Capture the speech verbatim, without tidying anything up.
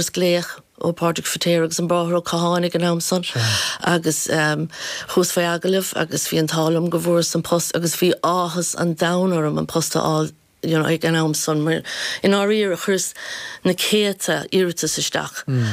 Glaoch ó Pádraig Feiritéar agus an Bráthair Ó Catháin ag an am san agus um, chuas fé agallamh agus bhí an t-ádh liom go bhfuaireas an post agus bhí áthas an domhain orm an post a fháil you know, ag an am san mar in áiríre chuireas na céadta iarratas isteach. Mm.